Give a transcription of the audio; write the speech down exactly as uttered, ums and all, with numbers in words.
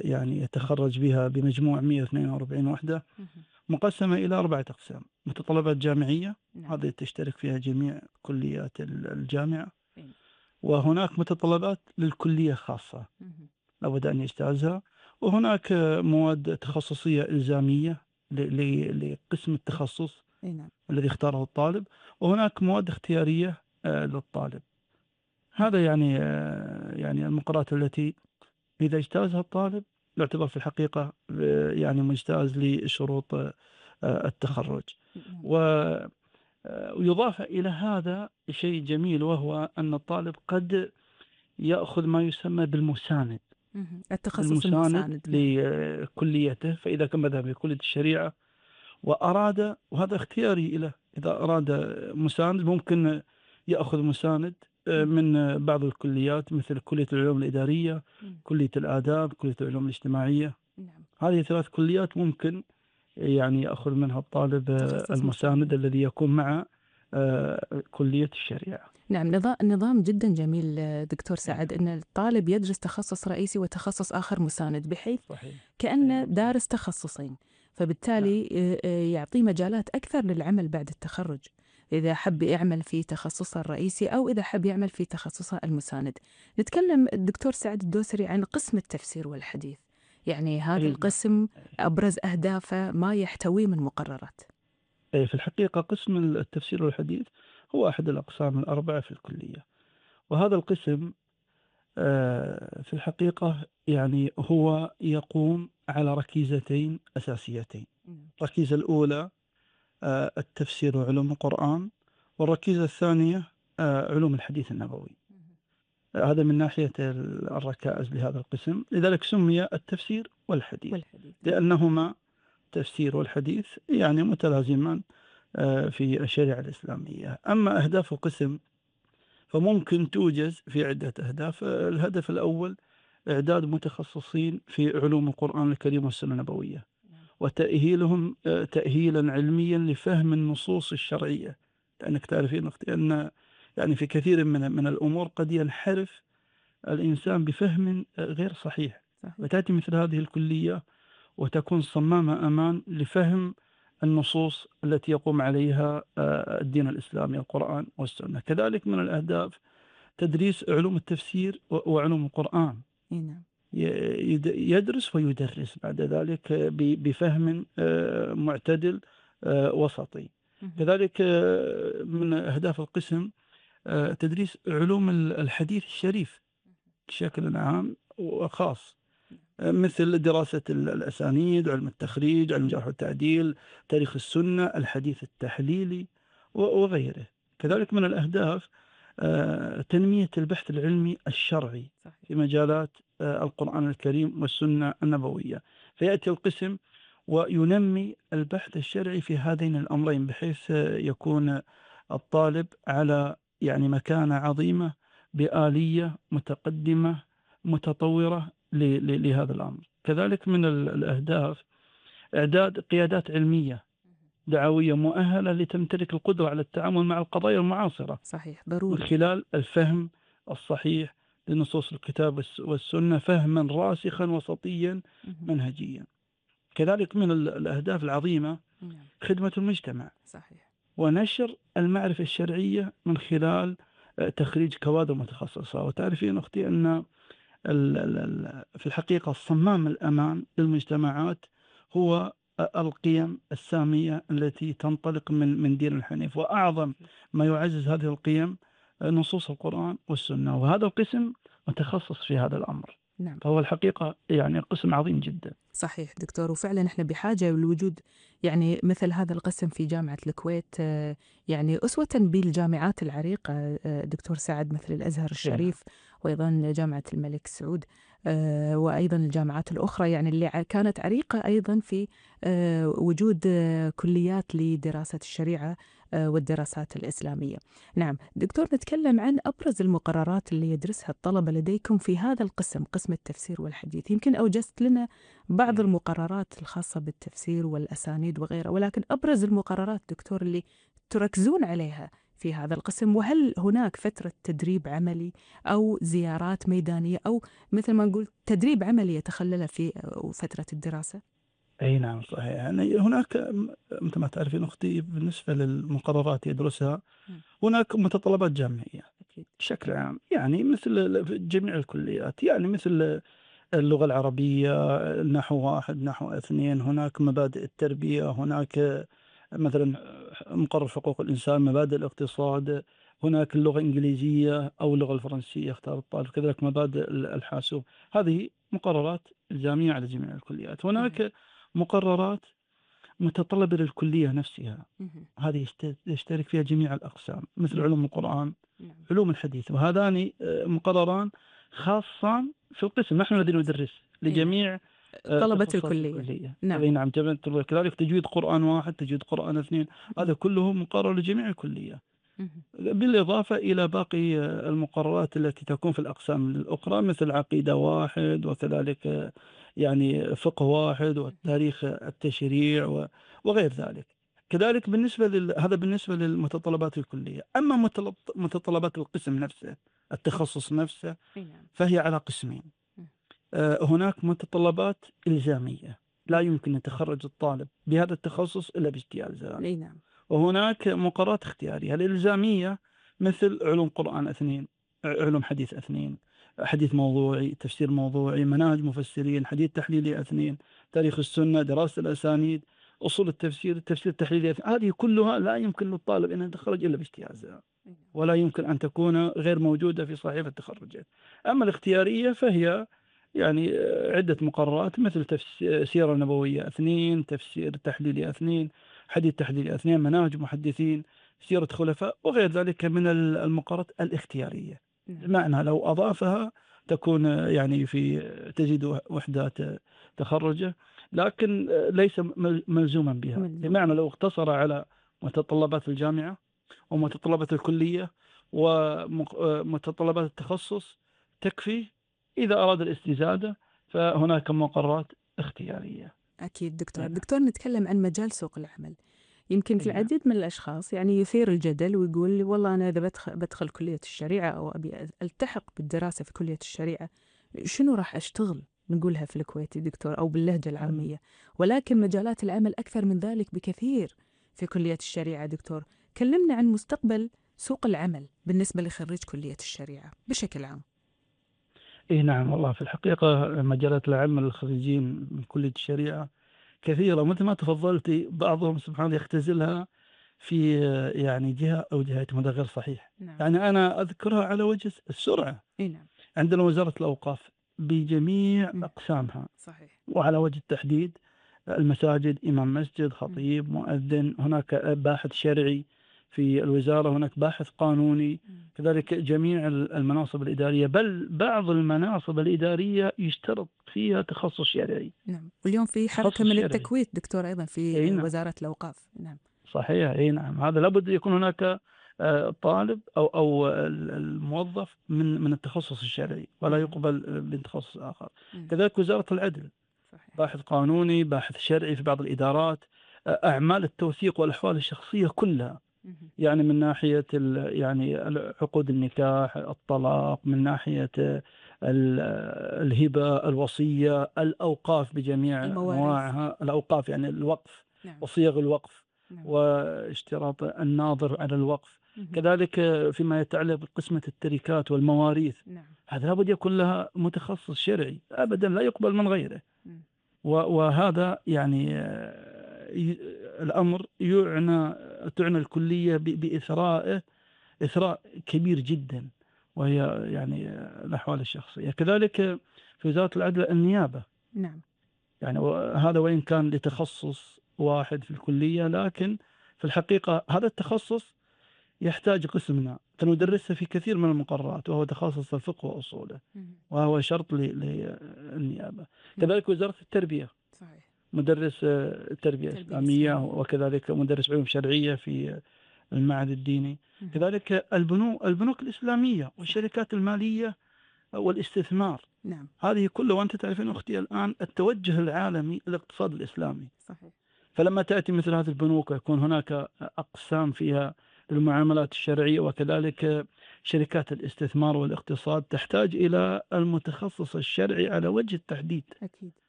يعني يتخرج بها بمجموع مئة واثنين وأربعين وحدة، اهم. مقسمة إلى أربعة أقسام: متطلبات جامعية، نعم. هذه تشترك فيها جميع كليات ال الجامعة، إي. وهناك متطلبات للكلية خاصة اهم. لابد أن يجتازها، وهناك مواد تخصصية إلزامية ل ل لقسم التخصص إي نعم. الذي اختاره الطالب، وهناك مواد اختيارية آآ للطالب. هذا يعني آآ يعني المقررات التي إذا اجتازها الطالب يعتبر في الحقيقة آآ يعني مجتاز لشروط آآ التخرُّج. نعم. و آآ ويضاف إلى هذا شيء جميل، وهو أن الطالب قد يأخذ ما يسمى بالمساند، اهم. التخصص بالمساند المساند. نعم. لكليته. فإذا كان مثلًا في كلية الشريعة وأراد، وهذا اختياري له، إذا أراد مساند ممكن يأخذ مساند آآ اهم. من بعض الكليات مثل كلية العلوم الإدارية، إمم. كلية الآداب، كلية العلوم الاجتماعية. نعم. هذه ثلاث كليات ممكن يعني يأخذ منها الطالب آه، تخصص المساند مساند. الذي يكون مع آآ كلية الشريعة. نعم، نظا نظام جدًا جميل آه، دكتور أي سعد، نعم. إن الطالب يدرس تخصص رئيسي وتخصص آخر مساند، بحيث صحيح. أي كأنه نعم صحيح. دارس تخصصين، نعم. فبالتالي آآ آآ يعطيه مجالات أكثر للعمل بعد التخرُّج، إذا حب يعمل في تخصصه الرئيسي أو إذا حب يعمل في تخصصه المساند. نتكلم الدكتور سعد الدوسري عن قسم التفسير والحديث، يعني هذا أي نعم. القسم أي. أبرز أهدافه ما يحتويه من مقررات. أي في الحقيقة قسم التفسير والحديث هو أحد الأقسام الأربعة في الكلية، وهذا القسم آآ في الحقيقة يعني هو يقوم على ركيزتين أساسيتين. إمم. الركيزة الأولى آآ التفسير وعلوم القرآن، والركيزة الثانية آآ علوم الحديث النبوي. اهم. آه، هذا من ناحية ال الركائز لهذا القسم، لذلك سمي التفسير والحديث، والحديث. نعم. لأنهما التفسير والحديث يعني متلازمان آآ في الشريعة الإسلامية. أما أهداف القسم فممكن توجز في عدة أهداف. آه، الهدف الأول إعداد متخصصين في علوم القرآن الكريم والسنة النبوية، نعم. وتأهيلهم آآ تأهيلًا علميًا لفهم النصوص الشرعية، لأنِك تعرفين أختي أن يعني في كثير من من الأمور قد ينحرف الإنسان بفهم آآ غير صحيح، صحيح. فتأتي مثل هذه الكلية وتكون صمامة أمان لفهم النصوص التي يقوم عليها آآ الدين الإسلامي القرآن والسنة. كذلك من الأهداف تدريس علوم التفسير و وعلوم القرآن. إي نعم. ي يد يدرس ويدرس بعد ذلك ب بفهم آآ معتدل آآ وسطي. اهم. كذلك آه، من أهداف القسم آآ تدريس علوم ال الحديث الشريف بشكل عام وخاص، آآ مثل دراسة ال الأسانيد، علم التخريج، علم الجرح والتعديل، تاريخ السنة، الحديث التحليلي و وغيره. نعم. كذلك من الأهداف آآ تنمية البحث العلمي الشرعي صحيح. في مجالات آآ القرآن الكريم والسنة النبوية، فيأتي القسم وينمي البحث الشرعي في هذين الأمرين، بحيث آه، يكون الطالب على يعني مكانة عظيمة بآلية متقدمة متطورة ل ل لهذا الأمر. كذلك من ال الأهداف إعداد قيادات علمية اهم. دعوية مؤهلة لتمتلك القدرة على التعامل مع القضايا المعاصرة صحيح، من ضروري. خلال الفهم الصحيح لنصوص الكتاب والس والسنة فهمًا راسخًا وسطيًا اهم. منهجيًا. كذلك من ال الأهداف العظيمة نعم. خدمة المجتمع صحيح. ونشر المعرفة الشرعية من خلال آآ تخريج كوادر متخصصة. وتعرفين أختي أن ال ال ال في الحقيقة صمام الأمان للمجتمعات هو أ القيم السامية التي تنطلق من من دين الحنيف، وأعظم أكيد. ما يعزز هذه القيم آآ نصوص القرآن والسنة، وهذا القسم متخصص في هذا الأمر، نعم. فهو الحقيقة يعني قسم عظيم جدًا. صحيح دكتور، وفعلًا إحنا بحاجة لوجود يعني مثل هذا القسم في جامعة الكويت، آآ، يعني أسوةً بالجامعات العريقة آآ، دكتور سعد، مثل الأزهر أي نعم. الشريف، وأيضًا جامعة الملك سعود، آآ، وأيضًا الجامعات الأخرى يعني اللي ع كانت عريقة أيضًا في آآ، وجود آه، كليات لدراسة الشريعة آآ، والدراسات الإسلامية. نعم، دكتور، نتكلم عن أبرز المقررات اللي يدرسها الطلبة لديكم في هذا القسم، قسم التفسير والحديث. يمكن أوجزت لنا بعض إيه. المقررات الخاصة بالتفسير والأسانيد وغيرها، ولكن أبرز المقررات دكتور اللي تركزون عليها في هذا القسم؟ وهل هناك فترة تدريب عملي أو زيارات ميدانية أو مثل ما نقول تدريب عملي يتخلله في فترة الدراسة؟ أي نعم صحيح. يعني هناك م- مثل ما تعرفين أختي بالنسبة للمقررات يدرسها مم. هناك متطلبات جامعية أكيد. بشكل عام، يعني مثل في جميع الكليات، يعني مثل اللغة العربية، نحو واحد نحو اثنين، هناك مبادئ التربية، هناك مثلا مقرر حقوق الإنسان، مبادئ الاقتصاد، هناك اللغة الإنجليزية أو اللغة الفرنسية اختار الطالب، كذلك مبادئ الحاسوب. هذه مقررات إلزامية على جميع الكليات. مهم. هناك مقررات متطلبة للكلية نفسها، مهم. هذه يشت- يشترك فيها جميع الأقسام، مثل نعم. علوم القرآن، نعم. علوم الحديث، وهذان آه، مقرران خاصان في القسم. نحن في الذين القسم. ندرس أي نعم. لجميع آه، طلبة تخصصات الكلية. الكلية. نعم. أي نعم، جميع الطلاب. كذلك تجويد قرآن واحد، تجويد قرآن اثنين، هذا مهم. كله مقرر لجميع الكلية، مهم. بالإضافة إلى باقي آه، المقررات التي تكون في الأقسام الأخرى، مثل عقيدة واحد، وكذلك آه، يعني فقه واحد، وتاريخ التشريع و- وغير ذلك. كذلك بالنسبة لل... هذا بالنسبة للمتطلبات الكلية. أما متلط- متطلبات القسم نفسه، التخصص نفسه، أي نعم. فهي على قسمين. مم. آه، هناك متطلبات إلزامية، لا نعم. يمكن يتخرج الطالب بهذا التخصص إلا باجتياز. أي نعم. وهناك مقررات اختيارية. الإلزامية مثل علوم قرآن اثنين، علوم حديث اثنين، حديث موضوعي، تفسير موضوعي، مناهج مفسرين، حديث تحليلي اثنين، تاريخ السنة، دراسة الأسانيد، أصول التفسير، التفسير التحليلي اثنين. هذه كلها لا يمكن للطالب أن يتخرج إلا باجتيازها، أي نعم. ولا يمكن أن تكون غير موجودة في صحيفة تخرجه. أما الاختيارية فهي يعني آه، عدة مقررات، مثل تفسير سيرة نبوية اثنين، تفسير تحليلي اثنين، حديث تحليلي اثنين، مناهج محدثين، سيرة خلفاء، وغير ذلك من ال- المقررات الاختيارية. نعم. بمعنى لو أضافها تكون آه، يعني في تزيد وحدات آه، تخرجه، لكن آه، ليس مل- ملزوما بها. ملزوم. بمعنى لو اقتصر على متطلبات الجامعة ومتطلبات الكلية ومتطلبات التخصص تكفي. إذا أراد الاستزادة فهناك مقررات اختيارية. أكيد دكتور. أي نعم. دكتور، نتكلم عن مجال سوق العمل. يمكن في أي نعم. العديد من الأشخاص يعني يثير الجدل ويقول والله أنا إذا بدخل, بدخل كلية الشريعة أو أبي ألتحق بالدراسة في كلية الشريعة، شنو راح أشتغل؟ نقولها في الكويتي دكتور أو باللهجة العامية، ولكن مجالات العمل أكثر من ذلك بكثير في كلية الشريعة. دكتور، كلمنا عن مستقبل سوق العمل بالنسبة لخريج كلية الشريعة بشكل عام. إيه نعم، والله في الحقيقة مجالات العمل الخريجين من كلية الشريعة كثيرة، مثل ما تفضلتي. بعضهم سبحان الله يختزلها في يعني جهة أو جهتين، وهذا غير صحيح. نعم. يعني أنا أذكرها على وجه السرعة. إي نعم. عندنا وزارة الأوقاف بجميع مم. أقسامها، صحيح. وعلى وجه التحديد المساجد، إمام مسجد، مم. خطيب، مؤذن، هناك باحث شرعي في الوزارة، هناك باحث قانوني، مم. كذلك جميع المناصب الإدارية، بل بعض المناصب الإدارية يشترط فيها تخصص شرعي. نعم. واليوم في حركة تخصص من شرعي. التكويت دكتور أيضا أي في نعم. وزارة الأوقاف. نعم. صحيح. أي نعم، هذا لابد يكون هناك آه، طالب أو أو الموظف من من التخصص الشرعي، ولا مم. يقبل من تخصص آخر. مم. كذلك وزارة العدل، صحيح. باحث قانوني، باحث شرعي في بعض الإدارات، أعمال التوثيق والأحوال الشخصية كلها، مم. يعني من ناحية ال- يعني عقود النكاح، الطلاق، من ناحية ال- الهبة، الوصية، الأوقاف بجميع المواريث. أنواعها، الأوقاف يعني الوقف نعم. وصيغ الوقف، نعم. واشتراط الناظر على الوقف، مم. كذلك فيما يتعلق بقسمة التركات والمواريث. نعم. هذا لابد يكون لها متخصص شرعي، أبدا لا يقبل من غيره. مم. و- وهذا يعني آه، ي- الأمر يعنى تعنى الكلية ب- بإثرائه إثراء كبير جدا، وهي يعني آه، الأحوال الشخصية. كذلك في وزارة العدل النيابة، نعم. يعني هذا وإن كان لتخصص واحد في الكلية، لكن في الحقيقة هذا التخصص يحتاج قسمنا فندرسه في كثير من المقررات، وهو تخصص الفقه وأصوله، مم. وهو شرط ل- للنيابة. نعم. كذلك وزارة التربية، صحيح. مدرس آه، تربية تربية إسلامية، إسلامية. وكذلك مدرس علوم شرعية في المعهد الديني. مم. كذلك البنوك البنوك الإسلامية صح. والشركات المالية والاستثمار. نعم. هذه كلها، وأنت تعرفين أختي الآن التوجه العالمي الاقتصاد الإسلامي. صحيح. فلما تأتي مثل هذه البنوك ويكون هناك أقسام فيها للمعاملات الشرعية، وكذلك شركات الاستثمار والاقتصاد تحتاج إلى المتخصص الشرعي على وجه التحديد. أكيد.